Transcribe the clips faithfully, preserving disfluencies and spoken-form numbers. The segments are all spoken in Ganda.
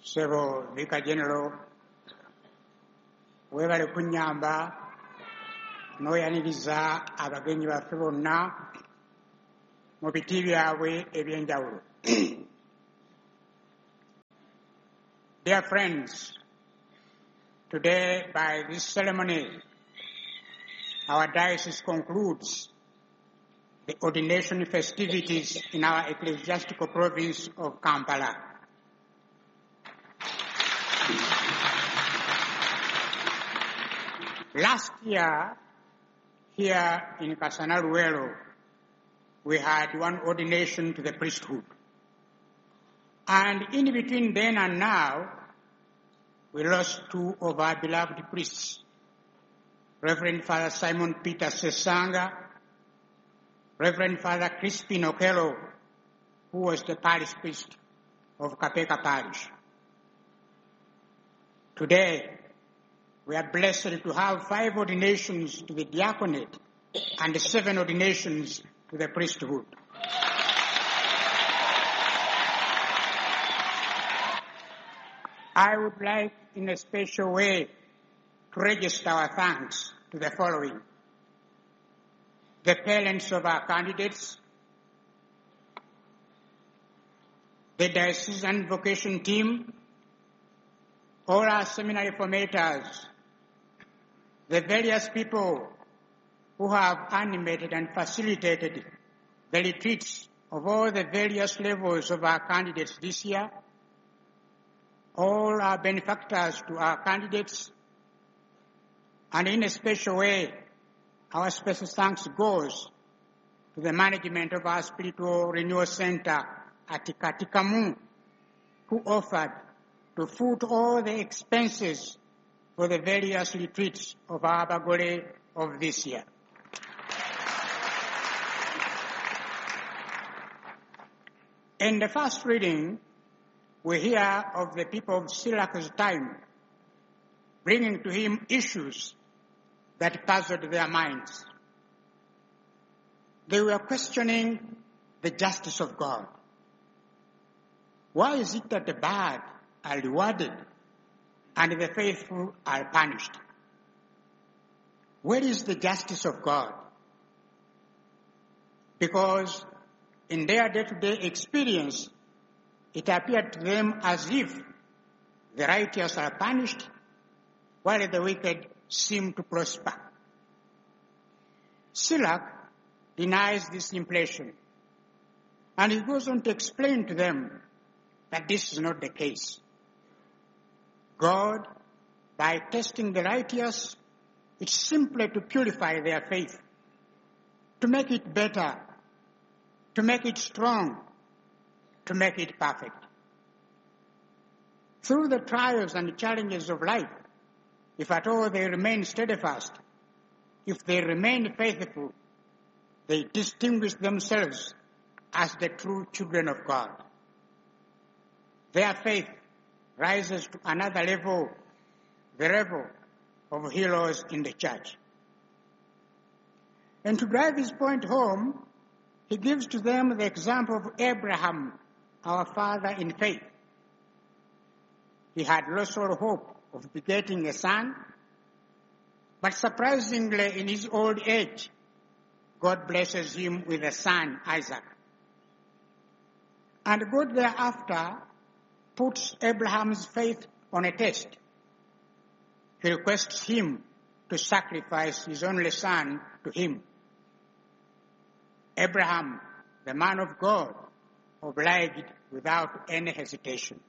Ssebo Vicar General, weebale kunnyamba n'oyaniriza abagenyi baffe bonna mu biti byabwe eby'enjawulo. Dear friends, today by this ceremony, our diocese concludes the ordination festivities in our ecclesiastical province of Kampala. Last year, here in Kasana Luwero, we had one ordination to the priesthood. And in between then and now, we lost two of our beloved priests, Reverend Father Simon Peter Sesanga, Reverend Father Crispin Okello, who was the parish priest of Kapeeka Parish. Today, we are blessed to have five ordinations to the diaconate and seven ordinations to the priesthood. I would like, in a special way, to register our thanks to the following: the parents of our candidates, the diocesan vocation team, all our seminary formators, the various people who have animated and facilitated the retreats of all the various levels of our candidates this year, all our benefactors to our candidates, and in a special way, our special thanks goes to the management of our Spiritual Renewal Center at Katikamu, who offered to foot all the expenses for the various retreats of our Abagole of this year. In the first reading, we hear of the people of Sirach's time bringing to him issues that puzzled their minds. They were questioning the justice of God. Why is it that the bad are rewarded and the faithful are punished? Where is the justice of God? Because in their day-to-day experience, it appeared to them as if the righteous are punished while the wicked seem to prosper. Sirach denies this impression, and he goes on to explain to them that this is not the case. God, by testing the righteous, it's simply to purify their faith, to make it better, to make it strong, to make it perfect. Through the trials and challenges of life, if at all they remain steadfast, if they remain faithful, they distinguish themselves as the true children of God. Their faith rises to another level, the level of heroes in the church. And to drive his point home, he gives to them the example of Abraham, our father in faith. He had lost all hope of begetting a son, but surprisingly, in his old age, God blesses him with a son, Isaac. And God thereafter puts Abraham's faith on a test. He requests him to sacrifice his only son to him. Abraham, the man of God, obliged without any hesitation.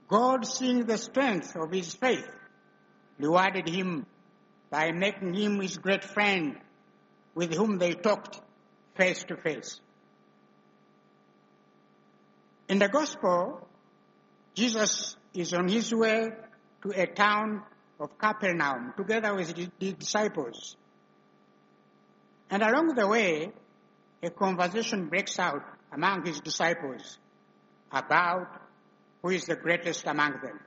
God, seeing the strength of his faith, rewarded him by making him his great friend, with whom they talked face to face. In the gospel, Jesus is on his way to a town of Capernaum together with his disciples. And along the way, a conversation breaks out among his disciples about who is the greatest among them.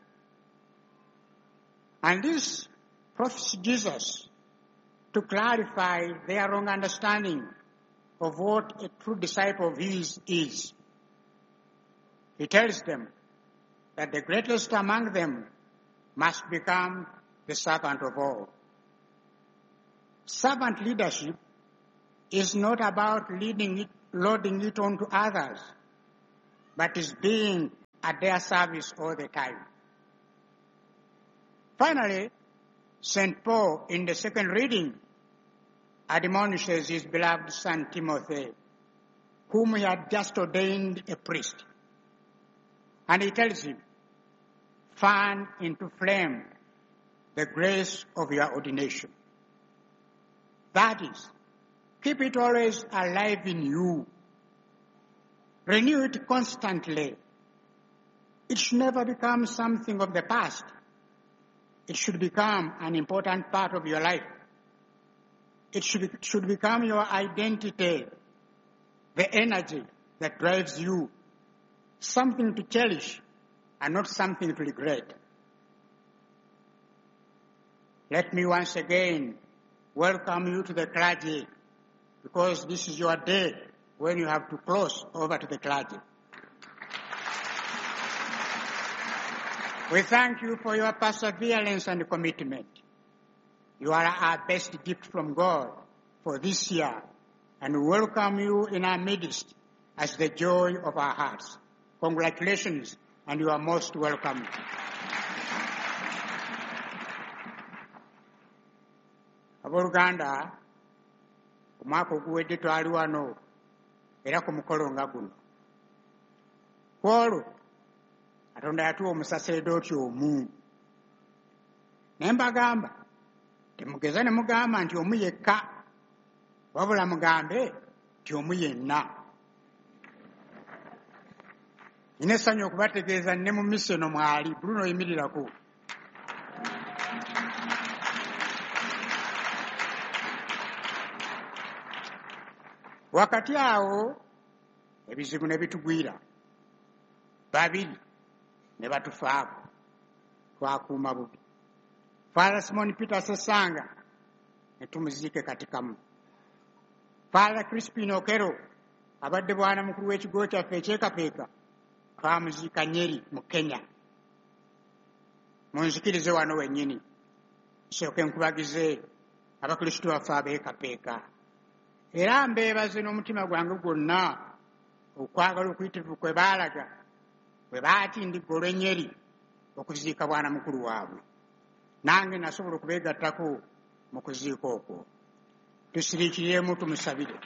And this prompts Jesus to clarify their wrong understanding of what a true disciple of his is. He tells them that the greatest among them must become the servant of all. Servant leadership is not about leading it, loading it onto others, but is being at their service all the time. Finally, Saint Paul, in the second reading, admonishes his beloved son Timothy, whom he had just ordained a priest. And he tells him, fan into flame the grace of your ordination. That is, keep it always alive in you. Renew it constantly. It should never become something of the past. It should become an important part of your life. It should, be, should become your identity, the energy that drives you, something to cherish and not something to regret. Let me once again welcome you to the clergy, because this is your day when you have to cross over to the clergy. We thank you for your perseverance and commitment. You are our best gift from God for this year, and we welcome you in our midst as the joy of our hearts. Congratulations, and you are most welcome. Abooluganda, omwaka oguwedde twali wano era ku mukolo nga guno. Ku olwo Katonda yatuwa omusaseredooti omu. Naye mbagamba temugeza ne mugamba nti omu yekka, wabula mugambe nti omu yenna. Nina essanyu okubategeeza ne mu misa eno mwali, Bruno yimirirako. Wakati awo ebizibu ne bitugwira, babiri ne batufaako, twakuuma bubi. Father Simon Peter Sessanga ne tumuziike Katikamu. Father Crispin Okero abadde bwana mukulu w'ekigo kyaffe eky'e twamuziika Nyeri mu Kenya. Munzikirize wano wennyini nsooke nkubagize abakristu baffe ab'e Kapeeka. Era mbeebaze n'omutima gwange gwonna okwagala okuyitirivu kwe baalaga bwe baatindigga olw'e okuziika bwana mukulu waabwe. Nange nasobola okubeegattako mu kuziika okwo. Tusiriikiremu tumusabire.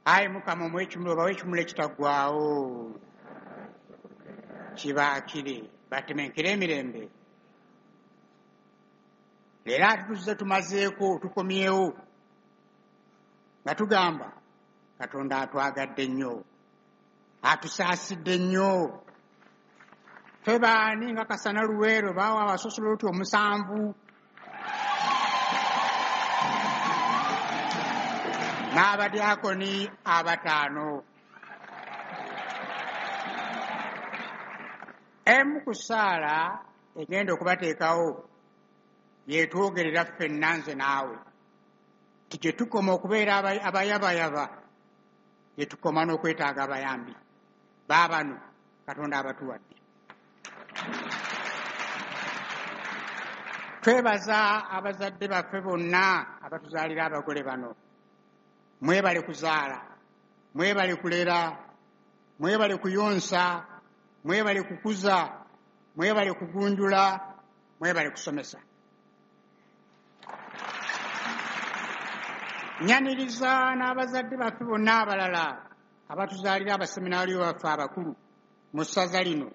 Ayi Mukama omuwe ekimuli obawe ekimuli ekitaggwaawo kibaakire batemenkere emirembe. Leero ate tuzze tumazeeko tukomyewo nga tugamba Katonda atwagadde nnyo, atusaasidde nnyo. Ffe baani nga Kasana Luweero baawa abasosoloti omusanvu n'abadyakoni abataano. Emu ku ssaala egenda okubateekawo yeetwogerera ffenna nze naawe nti gye tukoma okubeera abayabayaba gye tukoma n'okwetaaga abayambi baabano Katonda abatuwadde. Twebaza abazadde baffe bonna abatuzaalira abagole bano. Mwebale kuzaala, mwebale kulera, mwebale kuyonsa, mwebale kukuza, mwebale kugunjula, mwebale kusomesa. Nyaniriza n'abazadde baffe bonna abalala abatuzaalira abaseminaaliyo baffe abakulu mu ssaza lino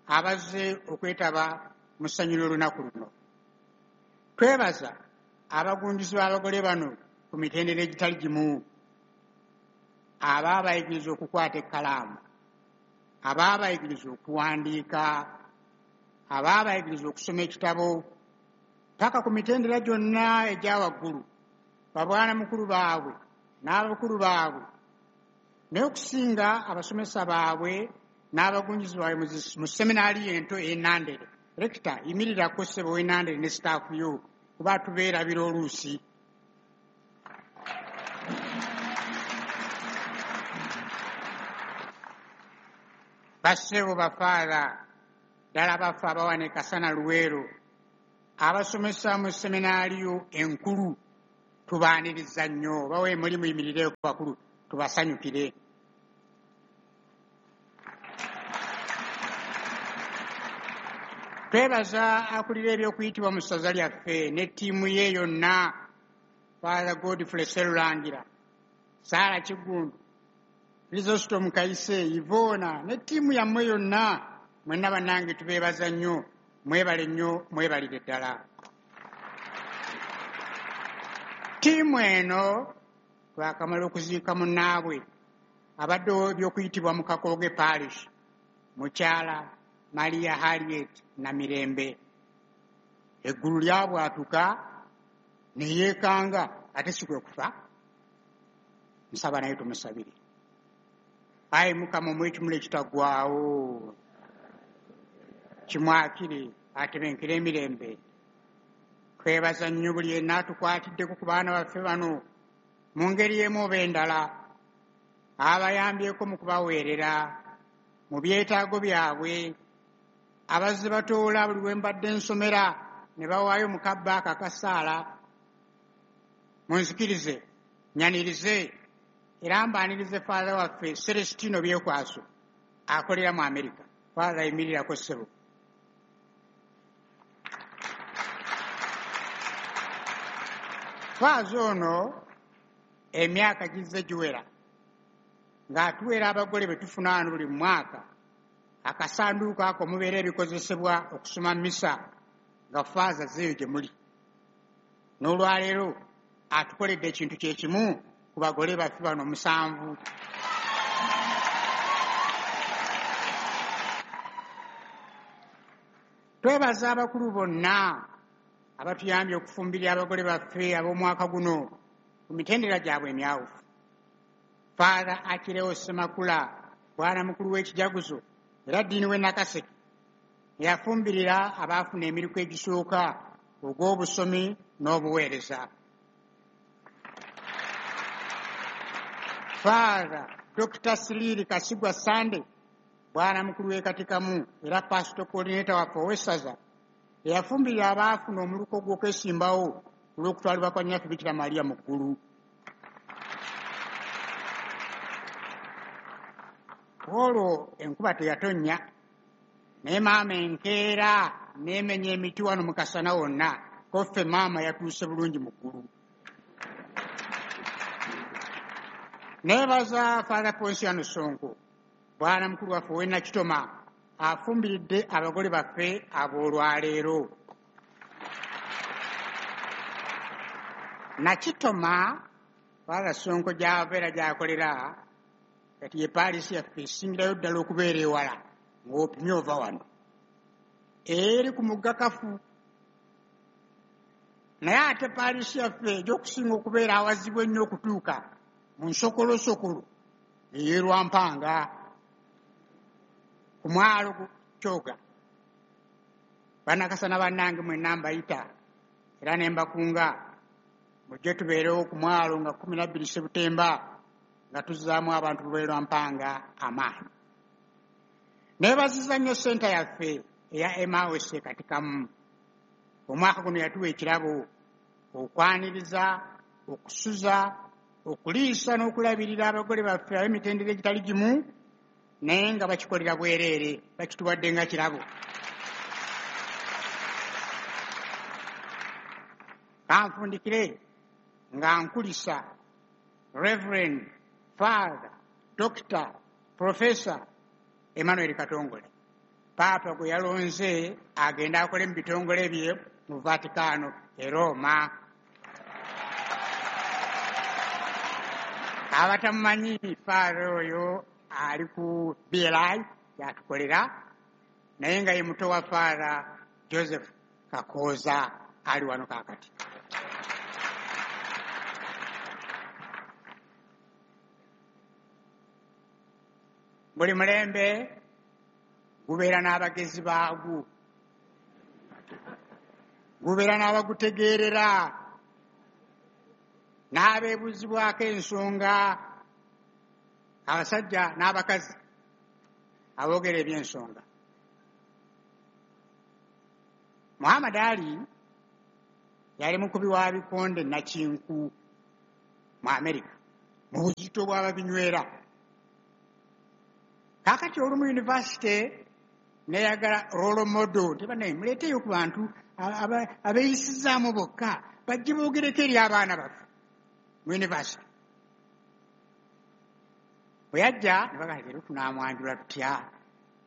abazze okwetaba mu ssanyu ly'olunaku luno. Twebaza abagunjuzi b'abagole bano ku mitendera egitali gimu, abaabayigiriza okukwata ekkalaamu, abaabayigiriza okuwandiika, abaabayigiriza okusoma ekitabo, paka ku mitendera gyonna egya waggulu, babwana mukulu baabwe n'abakulu baabwe, naye okusinga abasomesa baabwe n'abagunjuzi baabwe mu seminaaliyo ento ey'e Nandere. Rekita yimirirako ssebo w'e Nandere ne sitaafu yo kuba tubeerabira oluusi. Bassebo bafaatha ddala baffe abawana e Kasana Luweero, abasomesa mu seminaaliyo enkulu, tubaaniriza nnyo. Bawe muli muyimirireko bakulu tubasanyukire. Twebaza akulira ebyokuyitibwa mu ssaza lyaffe ne ttiimu ye yonna, Father Godfrey Sserulangira, Saala Kiggundu, Chrysostom Kayise, Ivona ne ttiimu yammwe yonna. Mwenna bannange tubeebaza nnyo, mwebale nnyo, mwebalire ddala. Ttiimu eno twakamala okuziika munnaabwe abaddewo ebyokuyitibwa mu Kakooge Parish, mukyala Maria Harriet Namirembe. Eggulu lyabwatuka ne yeekanga, ate si kwe kufa. Nsaba naye tumusabire. Ayi Mukama omuwe ekimuli ekitaggwaawo, kimwakire atebenkere emirembe. Twebaza nnyo buli yenna atukwatiddeko ku baana baffe bano mu ngeri emu oba endala, abayambyeko mu kubaweerera mu byetaago byabwe, abazze batoola buli we mbadde nsomera ne bawaayo mu kabba ako akasaala. Munzikirize nyanirize era mbaanirize Father waffe Celestino Byekwaso akolera mu Amerika. Father, yimirirako ssebo. Faaza ono emyaka gizze giwera ng'atuweera abagole be tufuna wano buli mwaka akasanduuko ako mubeera ebikozesebwa okusoma misa nga faaza zeeyo gye muli. N'olwaleero atukoledde ekintu kye kimu ku bagole baffe bano musanvu. Twebaza abakulu bonna abatuyambye okufumbirira abagole baffe ab'omwaka guno ku mitendera gyabwe emyawufu. Father Achileo Ssemakula, bwana mukulu w'ekijaguzo era ddiini w'e Nakaseke, eyafumbirira abaafuna emiriku egisooka ogw'obusomi n'obuweereza. Father Dokita Siriri Kasigwa Sande, bwana mukulu w'e Katikamu era pastor coordinator waffe ow'essaza, eyafumbirira abaafuna omuluko gw'okwesimbawo olw'okutwalibwa kwa Nnyaffe Bikira Maria mu ggulu. Olwo enkuba teyatonnya, naye maama enkeera n'emenya emiti wano mu kasana wonna, ko ffe maama yatuuse bulungi mu ggulu. Neebaza Father Ponsiano Sonko, bwana mukulu waffe ow'e Nakitoma, afumbiridde abagole baffe ab'olwaleero. Nakitoma, Father Sonko gy'ava era gy'akolera, kati ye paalisi yaffe esingirayo ddala okubeera ewala ng'opimye ova wano, eri ku mugga Kafu. Naye ate paalisi yaffe egy'okusinga okubeera awazibu ennyo okutuuka mu nsokolosokolo ey'e Lwampanga ku mwalo Kyoga. Bannakasana bannange mwenna mbayita era ne mbakunga mujje tubeerewo ku mwalo nga kkumi na bbiri Sebutemba nga tuzzaamu abantu b'e Lwampanga amaanyi. Neebaziza nnyo ssenta yaffe eya Emmaus e Katikamu. Omwaka guno yatuwa ekirabo okwaniriza, okusuza, okuliisa n'okulabirira abagole baffe ab'emitendera egitali gimu, naye nga bakikolera bwereere, bakituwadde nga kirabo. Kanfundikire nga nkulisa Reverend Father Doctor Professor Emmanuel Katongole, Paapa gwe yalonze agende akole mu bitongole bye mu Vatikano e Roma. Abatamumanyi Father oyo ali ku B L I yatukolera, naye nga ye muto wa Father Joseph Kakooza ali wano kaakati. Buli mulembe gubeera n'abagezi baagwo, gubeera n'abagutegeerera, n'abeebuuzibwako ensonga, abasajja n'abakazi. aboogera eby'ensonga. Muhammad Ali yali mukubi wa bikonde nakinku mu Amerika mu buzito bw'ababinywera. Kaakati olumu yunivasite neyagala role model, tebanaye muleeteyo ku bantu abeeyisizaamu bokka bajje boogereko eri abaana baffe mu yunivasite. Bwe yajja ne bagamba leero tunaamwanjula tutya,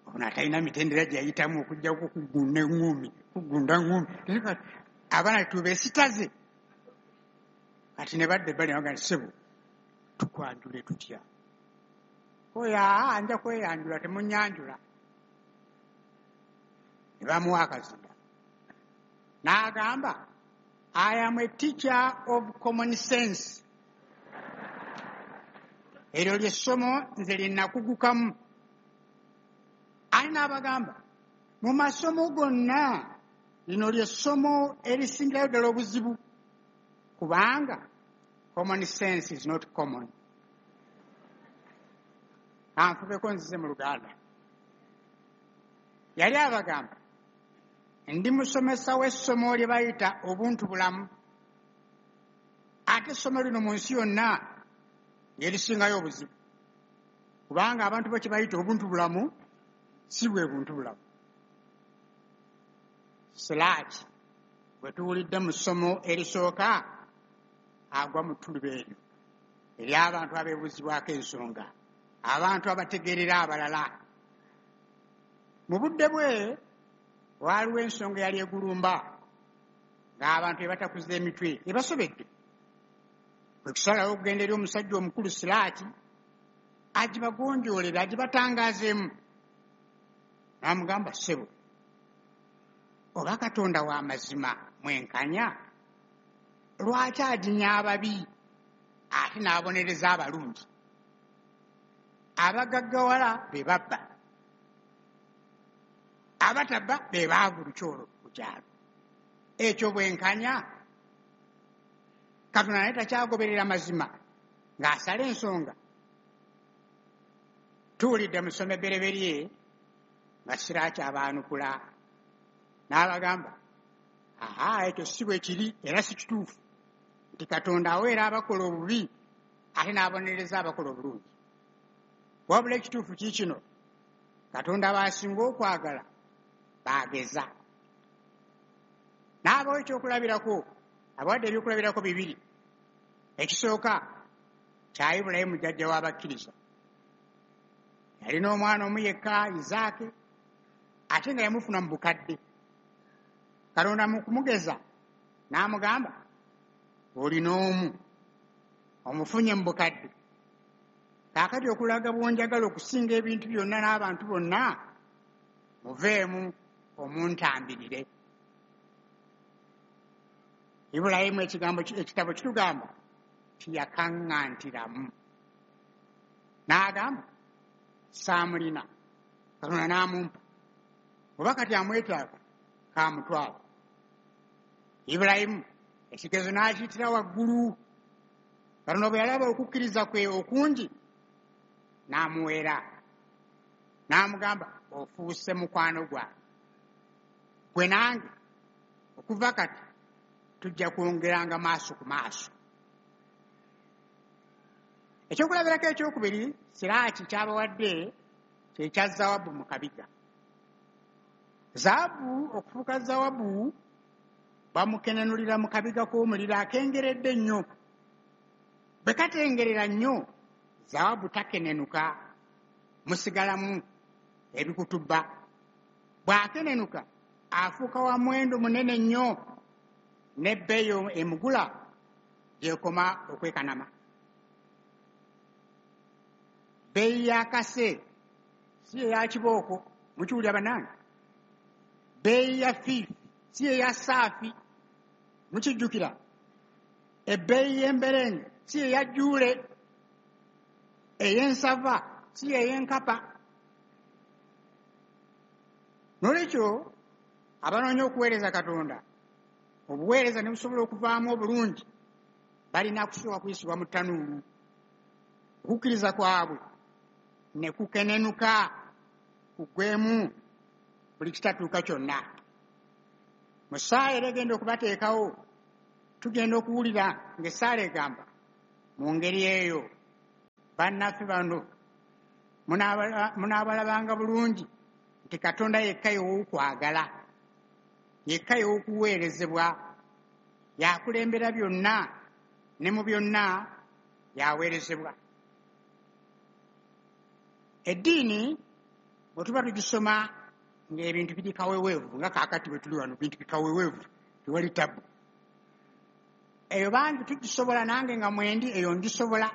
ono atalina mitendera gye yayitamu okuggyako okugunda eŋŋumi, kugunda ŋŋumi, abaana tubeesitaze. Kati ne badda ebbali ne bagamba ssebo tukwanjule tutya? Oyo aa nja kweyanjula, temunnyanjula. Ne bamuwa akazinda n'agamba, I am a teacher of common sense. Eryo ly'essomo nze lye nakugukamu. Ate n'abagamba mu masomo gonna lino ly'essomo erisingirayo ddala obuzibu, kubanga common sense is not common. Anfubeko nzize mu Luganda. Yali abagamba ndi musomesa w'essomo lye bayita obuntu bulamu, ate essomo lino mu nsi yonna lyerisingayo obuzibu, kubanga abantu bo kye bayita obuntu bulamu si bwe buntu bulamu. Siraaki bwe tuwulidde mu ssomo erisooka agwa mu ttuluba eryo ery'abantu abeebuuzibwako ensonga, abantu abategeerera abalala. Mu budde bwe waaliwo ensonga eyali egulumba ng'abantu ebatakuza emitwe ebasobedde. Bwe kusalawo okugenda eri omusajja omukulu Siraaki agibagonjoolere, agibatangaazeemu. N'amugamba, ssebo, oba Katonda wa mazima mwenkanya, lwaki aginya ababi ate n'abonereza abalungi? Abagaggawala be babba, abatabba be baavu lukyolo ku kyalo. Ekyo bwenkanya? Katonda naye takyagoberera mazima ng'asala ensonga. Tuwulidde mu ssomo ebbereberye nga Siraaki abaanukula n'abagamba, aha, ekyo si bwe kiri era si kituufu nti Katonda aweera abakola obubi ate n'abonereza abakola obulungi. Wabula ekituufu kiikino, Katonda b'asinga okwagala baageza. N'abawo ekyokulabirako, abawadde ebyokulabirako bibiri. Ekisooka kya Ibulayimu jjajja w'abakkiriza. Yalina omwana omu yekka, Isaake, ate nga yamufuna mu bukadde. Katonda mu kumugeza n'amugamba, olina omu, omufunye mu bukadde. Kaakati okulaga bw'onjagala okusinga ebintu byonna n'abantu bonna, muveemu omuntambirire. Ibulayimu ekigambo ekitabo kitugamba tiyakaŋŋantiramu. N'agamba saamulina, Katonda n'amumpa, oba kati amwetaaga kamutwala. Ibulayimu ekigezo n'akiyitira waggulu. Katonda bwe yalaba okukkiriza kwe okungi n'amuweera, n'amugamba ofuuse mukwano gwange, gwe nange okuva kati tujja kwongeranga maaso ku maaso. Ekyokulabirako ekyokubiri Siraaki kyabawadde kye kya zawabu mu kabiga. Zaabu okufuuka zawabu bamukenenulira mu kabiga k'omuliro akengeredde nnyo. Bwe katengerera nnyo, zawabu takenenuka, musigalamu ebikutubba. Bw'akenenuka afuuka wa muwendo munene nnyo, n'ebbeeyi emugula gy'ekoma okwekanama. Bbeeyi y'akase si eya kibooko, mukiwulira bannange? Bbeeyi ya fiifi si eya saafi, mukijjukira? Ebbeeyi y'emberenge si eya jjuule, ey'ensava si ey'enkapa. Noolwekyo abanoonya okuweereza Katonda, obuweereza ne busobola okuvaamu obulungi, balina kusooka kuyisibwa mu ttanuulu, okukkiriza kwabwe ne kukenenuka kuggwemu buli kitatuuka kyonna. Mu ssaala era egenda okubateekawo, tugenda okuwulira ng'essaala egamba mu ngeri eyo, bannaffe bano munaabalabanga bulungi nti Katonda yekka y'ow'okwagala, yekka y'ow'okuweerezebwa, yakulembera byonna ne mu byonna yaweerezebwa. Eddiini bwe tuba tugisoma ng'ebintu biri kaweweevu, nga kaakati bwe tuli wano bintu bikaweweevu, tewali tabu. Eyo bangi tugisobola, nange nga mwendi eyo ngisobola.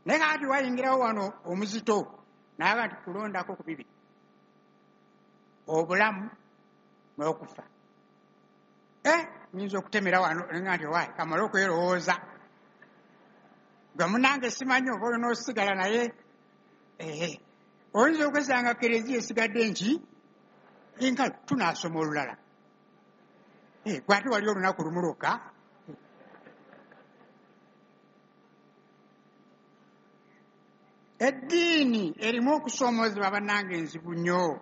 Naye kaakati wayingirawo wano omuzito n'agamba nti kulondako ku bibiri, obulamu n'okufa. Eh, nnyinza okutemera wano nga nti owaaye kamale okwerowooza. Gwe munnange simanyi oba olina osigala naye, eh, oyinza okwesanga kereziya esigadde nki enkalu, tunaasoma olulala. Eh, gwe ate wali olunaku lumu lwokka. Eddiini erimu okusoomoozebwa bannange enzibu nnyo.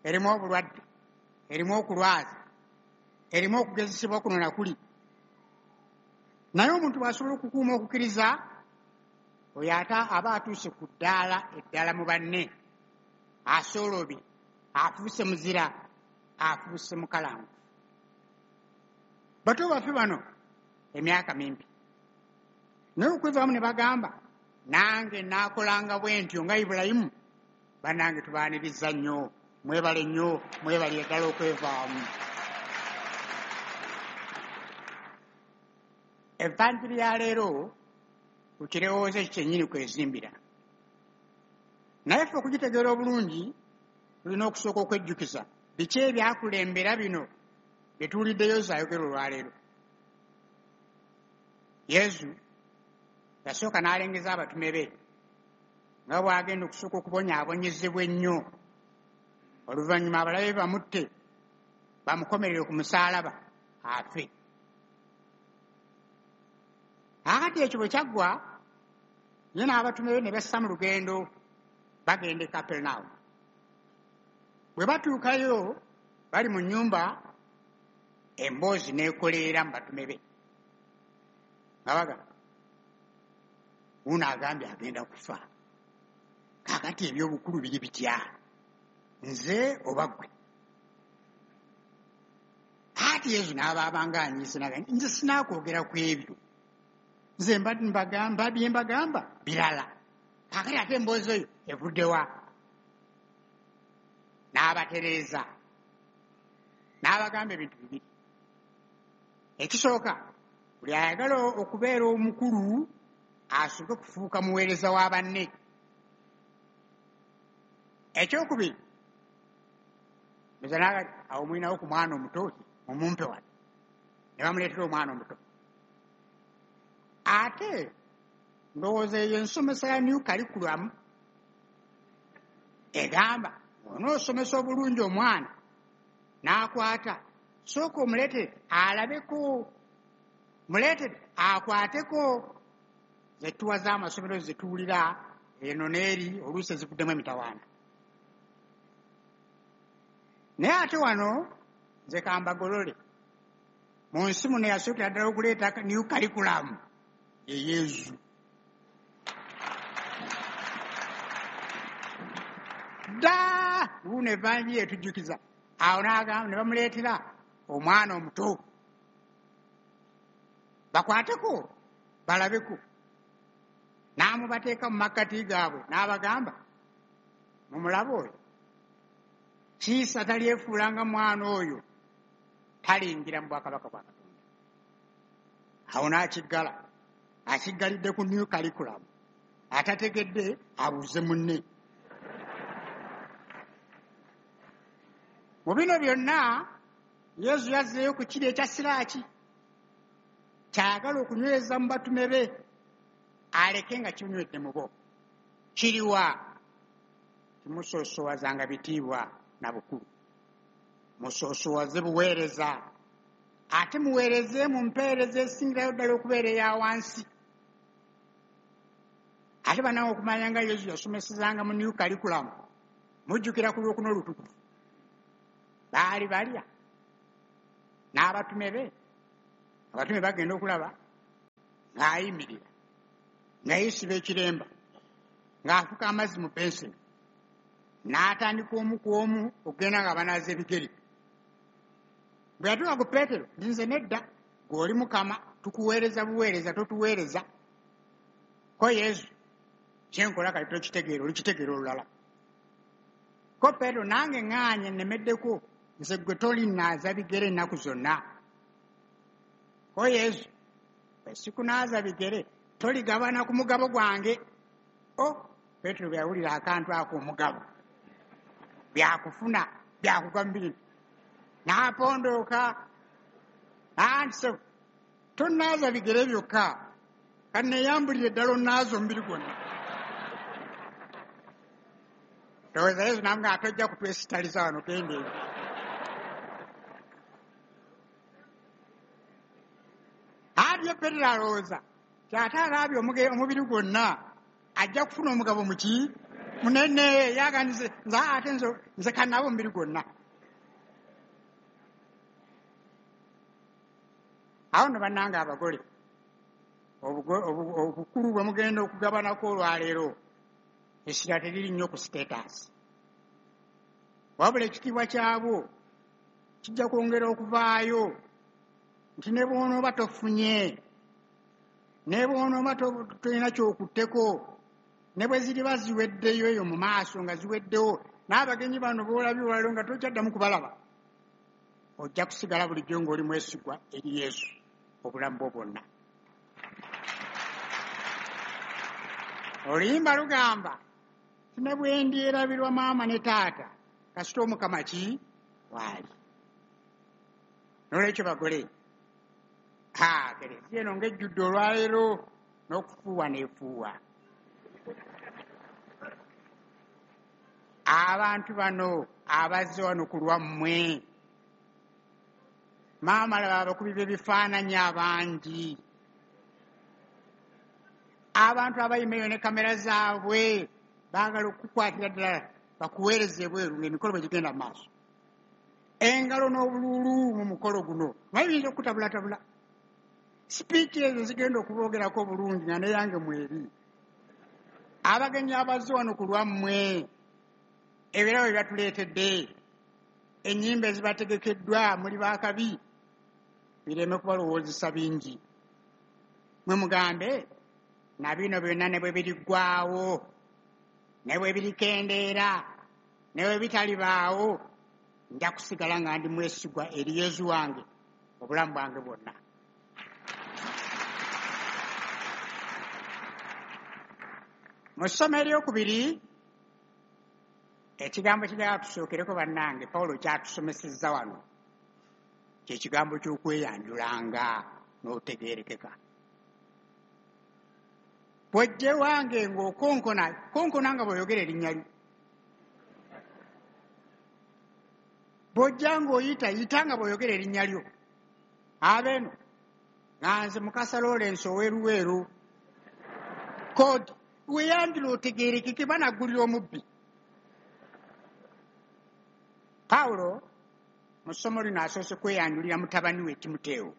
Erimu obulwadde, erimu okulwaza, erimu okugezesebwa kuno na kuli. Naye omuntu bw'asobola okukuuma okukkiriza, oyo ate aba atuuse ku ddaala eddala mu banne, asoolobye, afuuse muzira, afuuse mukalangu. Bato baffe bano emyaka mimpi, naye okwevaamu ne bagamba nange naakolanga bwe ntyo nga Ibulayimu. Bannange tubaaniriza nnyo, mwebale nnyo, mwebale ddala okwevaamu. Evanjiri ya leero ku kirowoozo ekyo kyennyini kwezimbira. Naye ffe okugitegeera obulungi tulina okusooka okwejjukiza biki ebyakulembera bino bye tuwulidde Yesu ayogera olwaleero. Yesu yasooka n'alengeza abatume be nga bw'agenda okusooka okubonyaabonyezebwa ennyo, oluvannyuma abalabe bamutte bamukomerere ku musaalaba afe. Akati ekyo bwe kyaggwa, ye n'abatume be ne bassa mu lugendo bagenda e Kaperenawumu. Bwe batuukayo bali mu nnyumba, emboozi n'ekoleera mu batume be nga bagamba, wuuno agambye agenda kufa, kaakati eby'obukulu biri bitya, nze oba ggwe? Ate Yesu n'abaabanga anyiise n'agamba, nze sinaakwogera ku ebyo, nze mbagamba bye mbagamba birala, kaakati ate emboozi eyo evudde wa? N'abatereeza, n'abagamba ebintu bibiri. Ekisooka, buli ayagala okubeera omukulu asooke kufuuka muweereza wa banne. Ekyokubiri, awo mulinawo ku mwana omuto, mumumpe wano, ne bamuleetera omwana omuto. Ate ndowooza eyo ensomesa ya new curriculum egamba onoosomesa obulungi omwana n'akwata, sooka omuleetere alabeko, muleetere akwateko. Zetuwa z'amasomero zetuwulira eno n'eri oluusi ezivuddemu emitawaana. Naye ate wano nze kambagolole, mu nsi muno yasookera ddala okuleeta new curriculum ye Yesu. Dda wuuno evanjiri etujjukiza. Awo n'agamba ne bamuleetera omwana omuto bakwateko balabeko, n'amubateeka mu makkati gaabwe n'abagamba, mumulabe oyo, kiisa talyefuulanga mwana oyo, talingira mu bwakabaka bwa Katonda. Awo n'akiggala, akiggalidde ku new curriculum, atategedde abuuze munne. Mu bino byonna Yesu yazzeeyo ku kiri ekya siraaki kyayagala okunyweza mu batume be, aleke nga kinywedde mu bo. Kiriwa? Kimusoosowazanga bitiibwa na bukulu, musoosowaze buweereza, ate muweereze mu mpeereza esingirayo ddala okubeera eya wansi. Ate bannange okumanya nga Yesu yasomesezanga mu new curriculum, mujjukira ku Lwokuna Olutukuvu baali balya n'abatume be. Abatume bagenda okulaba ng'ayimirira, nga yeesiba ekiremba, ng'afuka amazzi mu benseni, n'atandika omu ku omu okugenda nga banaaza ebigere. Bwe yatuuka ku Peetero, nze nedda, gw'oli Mukama, tukuweereza buweereza, totuweereza. Ko Yesu, kyenkola kati tokitegeera, olikitegeera olulala. Ko Peetero, nange ŋŋaanye nnemeddeko, nze gwe tolinaaza bigere ennaku zonna. Ko Yesu, bwe sikunaaza bigere, toligabana ku mugabo gwange. O, Peetero bwe yawulira akantu ako omugabo, byakufuna, byakugwa mu bintu. N'apondooka, anti tonnaaza bigere byokka, kanneeyambulire ddala onnaaza omubiri gwonna. Ndowooza Yesu n'amugamba tojja kutwesitaliza wano, genda eri. Ate ye Peetero alowooza nti ate alaabye omubiri gwonna ajja kufuna omugabo muki munene, yaganize nze ate nze kannabe omubiri gwonna. Awo nno bannange abagole, obukulu bwe mugenda okugabanako olwaleero, essira teriri nnyo ku status, wabula ekitiibwa kyabwo kijja kwongera okuvaayo nti ne bw'onooba tofunye, ne bw'onooba tolina ky'okutteko, ne bwe ziriba ziweddeyo eyo mu maaso nga ziweddewo, n'abagenyi bano b'olabye olwaleero nga tokyaddamu kubalaba, ojja kusigala bulijjo ng'oli mwesigwa eri Yesu obulamu bwo bwonna. Oluyimba lugamba nti ne bwe ndyerabirwa maama ne taata, kasita Omukama ki waali. Noolwekyo bagole, ha, kereziya eno ng'ejjudde olwaleero n'okufuuwa n'efuuwa. Abantu bano abazze wano ku lwammwe, maama laba abakubi b'ebifaananyi abangi, abantu abayima eyo ne kamera zaabwe baagala okukukwatira ddala bakuweereze ebweru ng'emikolo bwe gigenda mu maaso. Engalo n'obuluulu mu mukolo guno naye biyinza okukutabulatabula. Sipiiki ezo zigenda okuboogerako obulungi nga neyange mweri. Abagenyi abazze wano ku lwammwe, ebirabo bye batuleetedde, ennyimba ezibategekeddwa muli baakabi, bireme kubalowoozesa bingi. Mwe mugambe na bino byonna ne bwe biriggwaawo, ne bwe birikendeera, ne bwe bitalibaawo, nja kusigala nga ndi mwesigwa eri Yesu wange obulamu bwange bwonna. Mu ssomo eryokubiri, ekigambo kijagala tusookereko bannange, Pawulo kyatusomesezza wano, kye kigambo ky'okweyanjulanga n'otegeerekeka. Bw'ojja ewange ng'okonkona, konkona nga bw'oyogera erinnya lyo. Bw'ojja ng'oyita, yita nga bw'oyogera erinnya lyo. Abeeno, nga nze Mukasa Lawrence ow'e Luweero. Kodi, weeyanjula otegeerekeke banaggulira omubbi. Pawulo mu ssomo lino asoose kweyanjulira mutabani we Timoteewo.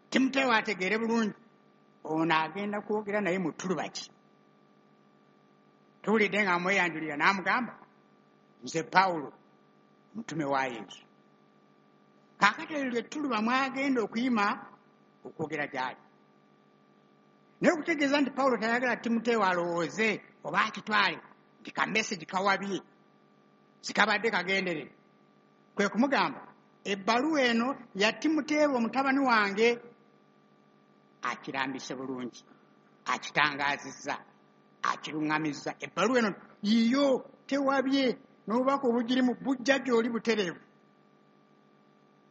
Timoteewo ategeere bulungi ono agenda kwogera naye mu ttuluba ki. Tuwulidde nga amweyanjulira n'amugamba nze Pawulo mutume wa Yesu. Kaakati eryo lye ttuluba mwagenda okuyima okwogera gy'ali. Naye okutegeeza nti Pawulo tayagala Timoteewo alowooze oba akitwale nti ka message kawabye, sikabadde kagenderere, kwe kumugamba ebbaluwa eno ya Timoteewo mutabani wange. Akirambise bulungi, akitangaazizza, akiruŋŋamizza. Ebbaluwa eno yiyo, tewabye, n'obubaka obugirimu bujja gy'oli butereevu.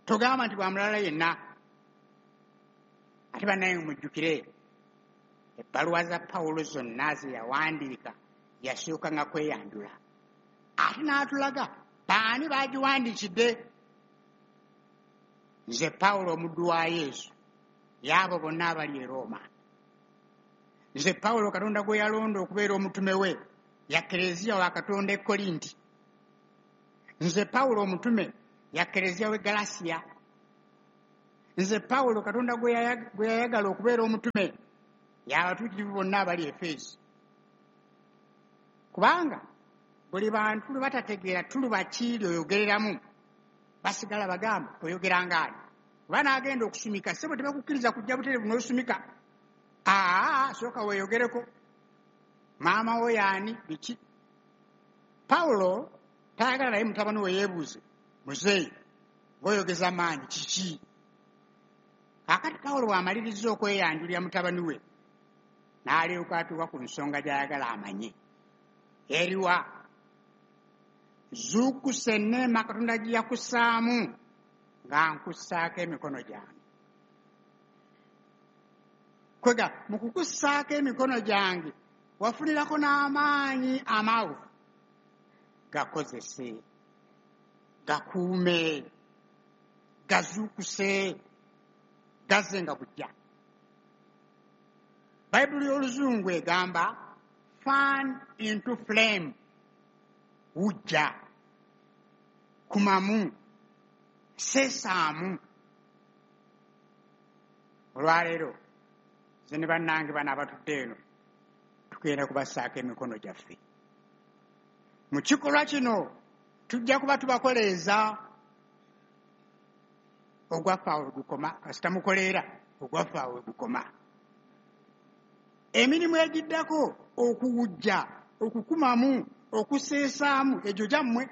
Togamba nti bwa mulala yenna. Ate bannaye mujjukire ebbaluwa za Pawulo zonna ze yawandiika yasooka nga kweyanjula, ate n'atulaga baani bagiwandiikidde. Nze Pawulo omuddu wa Yesu, y'abo bonna abali e Rooma. Nze Pawulo Katonda gwe yalonda okubeera omutume we ya Kereziya wa Katonda e Korinti. Nze Pawulo omutume ya Kereziya w'e Galasiya. Nze Pawulo Katonda gwe yayagala okubeera omutume y'abatuukirivu bonna abali Efeso. Kubanga buli bantu lwe batategeera tuluba ki ly'oyogereramu, basigala bagamba oyogera ng'ani. Oba n'agenda okusumika, ssebo tebakukkiriza kujja butereevu n'osumika. Aa, sooka weeyogereko. Maama wo y'ani, biki? Pawulo tayagala naye mutabani we yeebuuze, muzeeyi ng'oyogeza maanyi kiki? Kaakati Pawulo bw'amaliriza okweyanjulira mutabani we, n'alyoka atuuka ku nsonga gy'ayagala amanye. Eriwa? Zuukusa enneema Katonda gye yakussaamu nga nkussaako emikono gyange. Kwega mu kukussaako emikono gyange wafunirako n'amaanyi amawufu. Gakozese, gakuume, gazuukuse, gazze nga bujja. Bayibuli y'Oluzungu egamba fan into flame, wujja, kumamu, seesaamu. Olwaleero nze ne bannange bano abatudde eno tugenda kubassaako emikono gyaffe. Mu kikolwa kino tujja kuba tubakoleeza ogwaffe awo we gukoma, kasita mukoleera ogwaffe awo we gukoma. Emirimu egiddako okuwujja, okukumamu, okuseesaamu egyo gyammwe.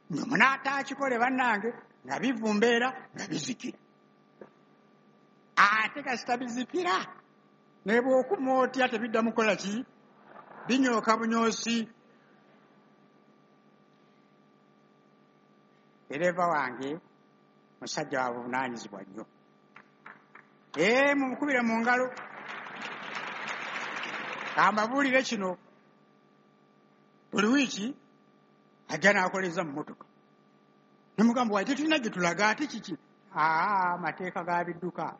Mwe munaataakikole bannange nga bivumbeera nga bizikira. Ate kasita bizikira ne bw'okuma otya tebiddamu kukola ki? Binyooka bunyoosi. Ddereeva wange musajja wa buvunaanyizibwa nnyo. Ee, mumukubire mu ngalo. Kambabuulire kino, buli wiiki ajja n'akoleza mu mmotoka. Ne mugamba, wayi tetulina gye tulaga ate kiki? Aa, mateeka ga bidduka.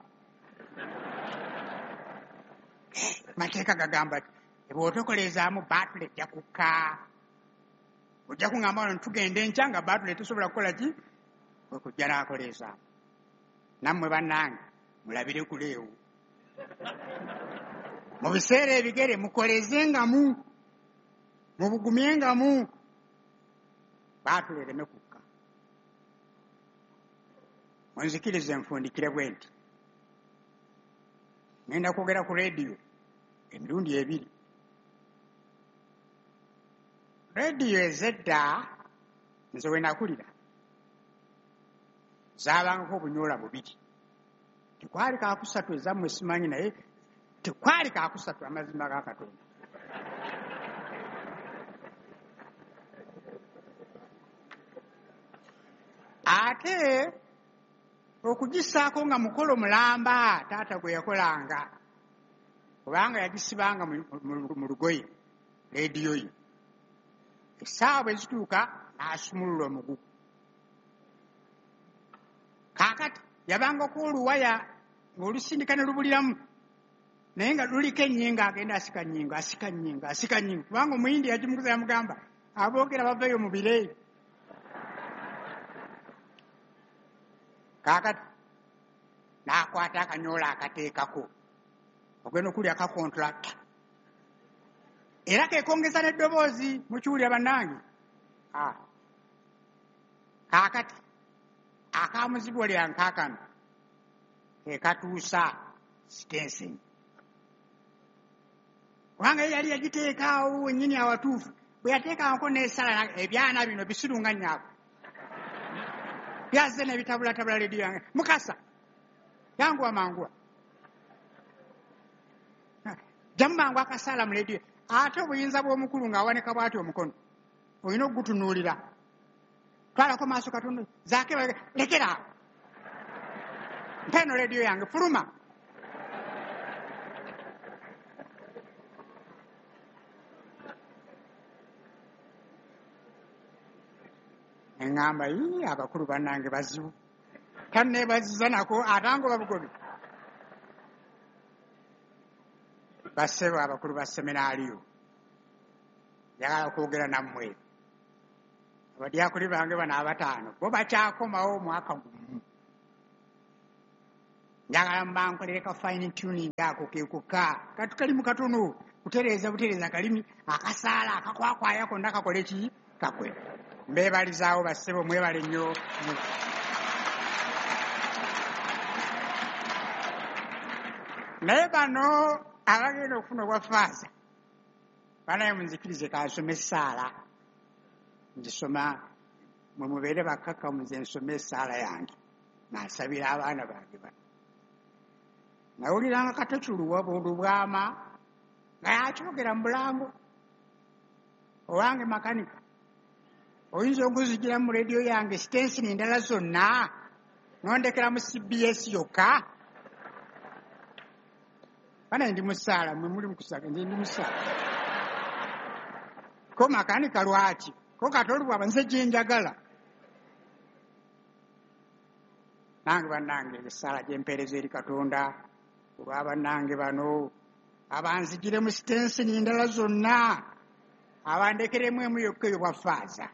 Mateeka gagamba ti bw'otokolezaamu baatule ejja kukka. Ojja kuŋŋamba wano tugenda enkya nga baatule tesobola kukola ki? Kwe kujja n'akoleezaamu. Nammwe bannange mulabire kuleewo. Mu biseera ebigere mukolezengamu, mubugumyengamu, baatule ereme kukka. Munzikirize nfundikire bwe nti. Ngenda kwogera ku leediyo emirundi ebiri. Leediyo ez'edda nze we nakulira zaabangako obunyoola bubiri. Tekwali kaakusatu ezammwe simanyi, naye tekwali kaakusatu amazima ga Katonda. Ate okugissaako nga mukolo mulamba taata gwe yakolanga, kubanga yagisibanga mu lugoye leediyo ye. Essaawa bwe zituuka n'asumulula omugugu. Kaakati yabangako oluwaya ng'olusindika ne lubuliramu, naye nga luliko ennyingo, agenda asika nnyingo, asika nnyingo, asika nnyingo, kubanga Omuyindi yagimuguza yamugamba aboogera baveeyo mu bire. Kaakati n'akwata akanyoola akateekako, ogenda okulya kakontulakita era keekongeza n'eddoboozi, mukiwulira bannange. Kaakati akamuzibu lya nkaakano ke katuusa sitenseni, kubanga ye yali yagiteekaawo wennyini awatuufu. Bwe yateekangako n'esala, ebyana bino bisirunga nnyaako byazze n'ebitabulatabula leediyo yange. Mukasa yanguwa manguwa, jjamu mangu akasaala mu leediyo. Ate obuyinza bw'omukulu ng'awanika bw'ati omukono, olina okugutunuulira. Twalako maaso katono, zaake lekera awo, mpa eno leediyo yange, fuluma. Eŋŋamba, yii, abakulu bannange bazibu, tanneebaziza nako atangoba bugobi. Bassebo abakulu ba seminaaliyo, njagala okwogera nammwe. Abadyakuli bange bano abataano bo bakyakomawo omwaka gumu. Njagala mbankolere ka fine tuning ako kekuka katu kalimu katono, kutereeza butereeza kalimi akasaala akakwakwaya konna kakole ki kakwe. Mbeebalizaawo bassebo, mwebale nnyo. Naye bano abagenda okufuna obwa faaza, banaye munzikirize kansome essaala. Nzisoma mwe mubeere bakkakkamu, nze nsome essaala yange nga nsabira abaana bange bano. Nawuliranga Kato Lubwama nga yakyogera mu bulango, owange makanika, oyinza okunzigira mu rediyo yange sitensini endala zonna nondekera mu C B S yokka? Bana ndi musaala, mwe muli mukusaka, nze ndi musaala. Ko makanika lwaki? Ko Kato Lubwama nze gye njagala. Nange bannange essaala gye mpeereza eri Katonda olwa bannange bano abanzigire mu sitensini endala zonna, abandekeremu emu yokka eyo bwa faaza.